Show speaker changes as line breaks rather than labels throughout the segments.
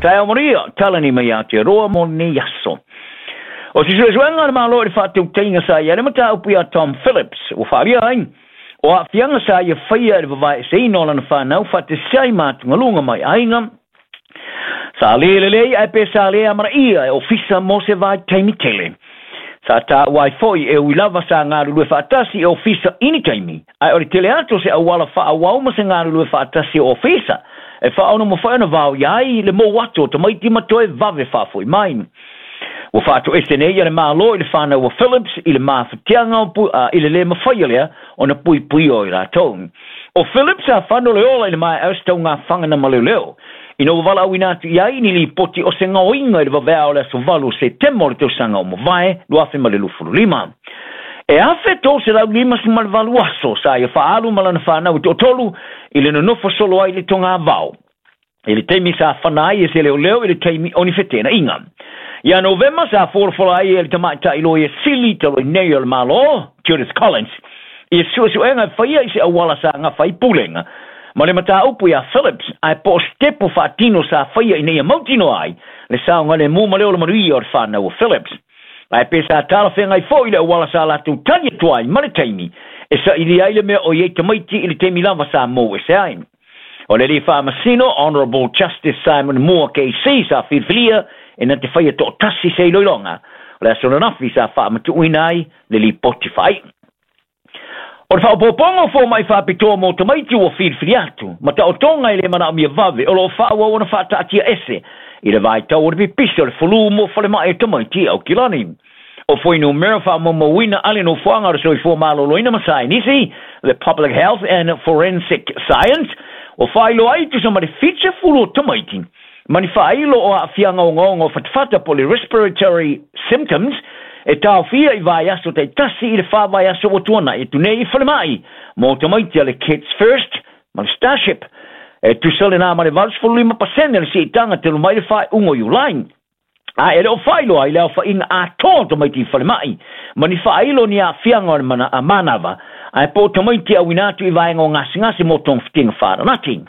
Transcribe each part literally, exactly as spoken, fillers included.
Taeao manuia, talani mai Aotearoa mo lenei aso. O se suesuega a le Malo i le faatautaiga sa i ai le mataupu ia Tom Phillips, ua faaalia ai o aafiaga sa ia faia i le vavaeeseina o lana fanau faatasi ai ma atugaluga mai aiga sa lē lelei ae pe sa lē amanaia e ofisa mo se vaitaimi tele. Sa taua ai foi e ui lava sa galulue faatasi e ofisa i ni taimi, ae o le tele atu o se auala faaauau ma se galulue faatasi o ofisa e faaono mafai ona vaoia ai le mou atu o tamaiti ma toe vave faafoi mai. Ua faatoese nei a le Malo i le fanau o Phillips i le mafatiaga i le lē mafaia lea ona puipuia o i latou. O Phillips sa fano le ola i le maea o se taugafaga na maleoleo ina ua valaauina atu i ai ni lipoti o se gaoiga i le vaveao o le aso valu o Setema o le tausaga o mavae lua afe ma le lufulu lima. E afe tolu selau limasefulu ma le valu aso sa ia faaalu ma lana fanau i toatolu i le nonofo solo ai i le togavao i le taimi sa fana ai e se leoleo i le taimi o ni fetenaiga. Ia Novema sa folafola ai e le tamaitai loia sili talu ai nei o le Malo, Judith Collins, i suesuega e faia i se auala sa gafa ai pulega ma le mataupu ia Phillips, ae po o se tepu faatino sa faia ina ia mautinoa ai le saogalemu ma le ola manuia o le fanau o Phillips. Ae pe sa talafeagai foi le auala sa latou tali atu ai ma le taimi e sailia ai le mea o i ai tamaiti i le taimi lava sa mou ese ai. O le alii faamasino, Honourable Justice Simon Moore K C, sa filifilia e na te faia toatasi se iloiloga o le aso ananafi sa faamatuuina ai le lipoti faaiu. O le faaopoopoga o fomai faapitoa mo tamaiti ua filifili atu ma taotoga e le manaomia vave o loo faaauau ona faataatia ese i le vaitau o le pipisi o le fulu mo falemai o tamaiti i Aukilani. O fuainumera faamaumauina a le nofoaga o le soifua maloloina ma saienisi, the Public Health and Forensic Science, ua faailoa ai tusa ma le fitusefulu o tamaiti ma ni faailo o aafiaga ogaoga o fatafata po o le respiratory symptoms e taofia i vaiaso taitasi i le fa vaiaso ua tuanai atu nei i falemai mo tamaiti a le Kids First ma le Starship. E tusa lenā ma le valusefulu lima pasene le siitaga talu mai le faaiuga o Iulai. A e le o faailoa ai le aofaiga atoa o tamaiti i falemai ma ni faailo ni aafiaga o le mana, a manava ae po o tamaiti auina atu i vaega o gasegase mo togafitiga faalanati.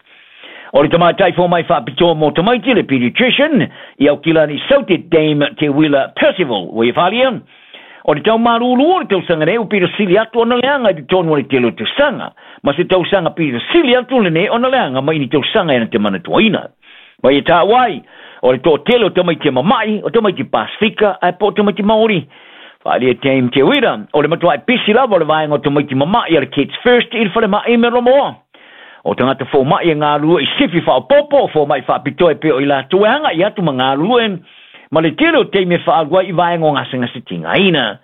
O le tamaitai fomai faapitoa mo tamaiti, le pediatrician i Aukilani Saute, Dame Te Wila Percival, ua ia faaalia o le taumalulu o le tausaga nei ua pito sili atu ona leaga i totonu o le tele o tausaga, ma se tausaga pito sili atu lenei ona leaga mai ni tausaga e na te manatuaina. Ma ia taua ai o le toatele o tamaiti e mama'i, o tamaiti Pasifika ae po o tamaiti Maori. Faaalia Dame Te Wira o le matua'i pisi lava o le vaega o tamaiti mama'i a le Kids First i le falemai me Romoa. O tagata fomai e galulue i sifi faaopoopo, o fomai faapitoa e pei o i latou e agai atu ma galulue ma le tele o taimi e faaalu ai i vaega o gasegase tigaina.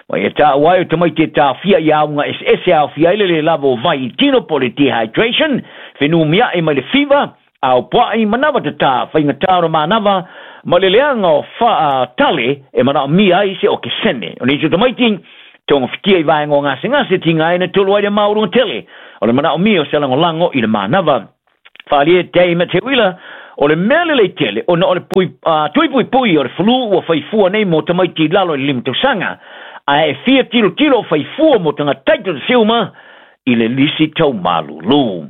Ma ia taua ai o tamaiti e taofia i auga eseese aofia ai le lē lava o vai i tino po o le dehydration, fenumia'i mai le fiva, aopoa'i manava tatā, faigatā o le manava ma le leaga o faatale e manaomia ai se okesene. O nisi o tamaiti togafitia i vaega o gasegase tigaina tolu ai le maualuga tele o le manaomia o se lagolago i le manava. Faaalia Dame Te Wila o le mea lelei tele ona o le pui, uh, tuipuipui o le fulu ua faifua nei mo tamaiti i lalo i le lima tausaga, ae e fia tilotilo o faifua mo tagata taitasi uma i le lisi taumalulu.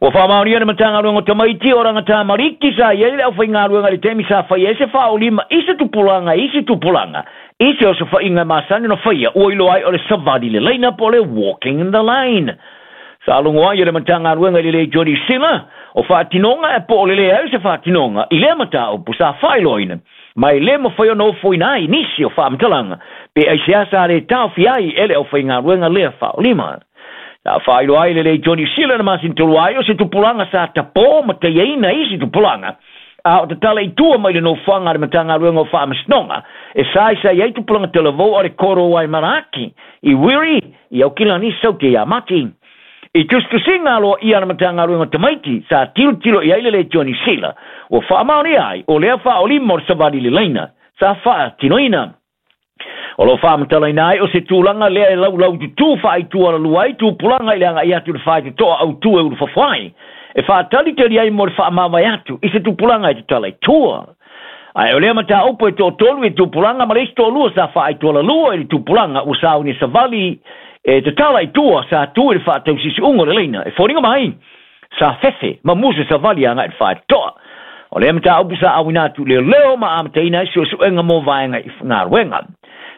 Ua faamaonia le Matagaluega o Tamaiti o Ragatamariki sa i ai le aufaigaluega i le taimi sa faia ai se faaolima i se tupulaga i se tupulaga i se osofaiga e masani ona faia ua iloa ai o le savali le laina po o le walking in the line. Sa logo ai e le Matagaluega i le Leitio Sila o faatinoga e po o le leai o se faatinoga i lea mataupu sa faailoaina ma e lē mafai ona ofoina ai nisi o faamatalaga pe aisea sa le taofia ai e le aufaigaluega lea faaolima. Sa faailoa ai le Leitio Sila na masina tolu ai o se tupulaga sa tapō ma taiaina isi tupulaga a o tatala i tua mai le nofoaga a le Matagaluega o Faamasinoga e saisai ai tupulaga talavou a le Koro ai Manaaki i Wiri i Aukilani Saute ia Mati. I tusitusiga aloaia a le Matagaluega o Tamaiti sa tilotilo i ai le Leitio Sila ua faamaonia ai o lea faaolima o le savali le laina sa faatinoina. O loo faamatalaina ai o se tulaga lea e laulau tutū faaitualalua ai tupulaga i le agai atu i le faitotoa autū e ulufafo ai e faatalitali ai mo le faamavae atu i se tupulaga e tatala i tua. Ae o lea mataupu e toatolu i tupulaga ma le isi toalua sa faaitualalua i le tupulaga ua sauni e savali e tatala i tua sa tu i le faatausisiuga o le laina e foliga mai sa fefe ma musu savali agai i le faitotoa. O lea mataupu sa auina atu leoleo ma amataina ai suesuega mo vaega i galuega.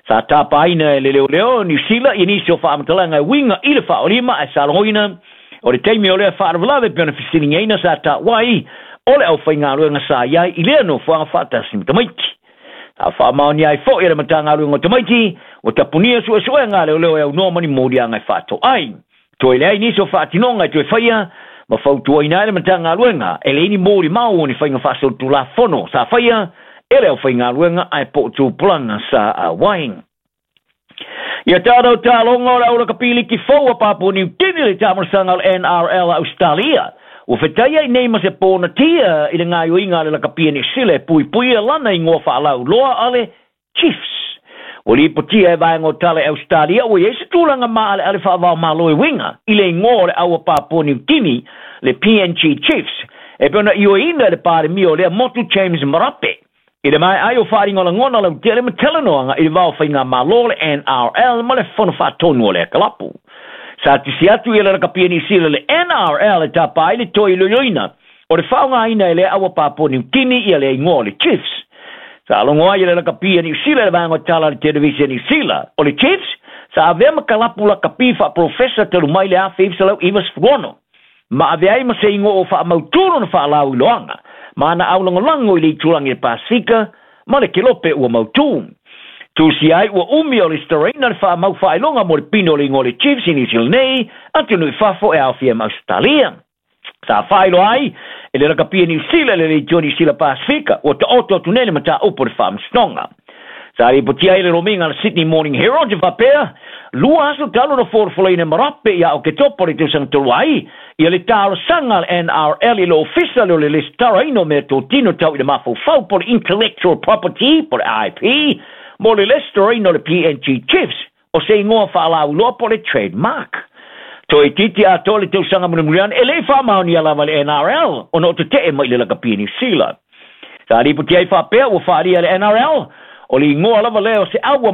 Sa tapaina e le leoleo Niu Sila i nisi o faamatalaga e uiga i le faaolima ae sa logoina o le taimi o lea faalavelave pe ona fesiligiaina sa taua ai o le aufaigaluega sa i ai i lea nofoaga faatasi ma tamaiti. Sa faamaonia ai foi e le Matagaluega o Tamaiti ua tapunia suesuega a leoleo e aunoa ma ni moliaga e faatoai. Toe leai nisi o faatinoga e toe faia ma fautuaina ai le Matagaluega e leai ni molimau o ni faiga faasolitulafono sa faia e le aufaigaluega ae po o tupulaga sa auai. Ia tatou taloga o le au lakapi liki fou a Papua Niu Kini le taamolosaga o le N R L a Australia. Ua fetai ai nei ma se pōnatia i le gaoioiga a le lakapi a Niu Sila e puipuia lana igoa faalauloa a le Chiefs. Ua lipotia e vaega o tala e Australia ua iai se tulaga maaleale faavaomalo e uiga i le igoa o le au a Papua Niu Kini le P N G Chiefs e pei ona ioeina e le Palemia o lea motu James Marape. I le mae ai o faaligolagona lautele ma talanoaga i le vao faigamalo le N R L ma le fono faatonu o le kalapu. Sa tusi atu i le lakapi a Niu Sila le N R L e tapa ai le toe iloiloina o le faaaogaina e le au a Papua Niu Kini ia le igoa o le Chiefs. Sa logo ai le lakapi a Niu Sila le vaega o tala a le televisi a Niu Sila. O le Chiefs sa avea ma kalapu lakapi faaprofesa talu mai le afe iva selau iva sefulu ono. Ma avea ai ma se igoa o faamautu lona faalauiloaga ma ana aulagolago i le itulagi le Pasifika ma le kelope ua mautu. Tusi ai ua umi o le staraina le faamau faailoga mo le pino o le igoa o le Chiefs i Niu Sila nei atunuu i fafo e aofia ma Australia. Sa faailoa ai e le lakapi a Niu Sila le leitio Niu Sila Pasifika ua taoto atu nei le mataupu o le faamasinoga. Sa lipotia ai le lomiga a le Sydney Morning Herald e faapea lua aso talu na folafolaina Marape ia Oketopa o le tausaga tolu ai ia le talosaga a le N R L i le ofisa lea o le lesitaraina o mea totino tau i le mafaufau po le Intellectual Property po le I P mo le lesitaraina o le P N G Chiefs o se igoa faalauiloa po le trademark. Toe itiiti atoa le tausaga mulimuliane e le i faamaonia lava le N R L ona o tetee mai i le lakapi a Niu Sila. Sa lipotia ai faapea ua faaalia le N R L o le igoa lava lea o se aua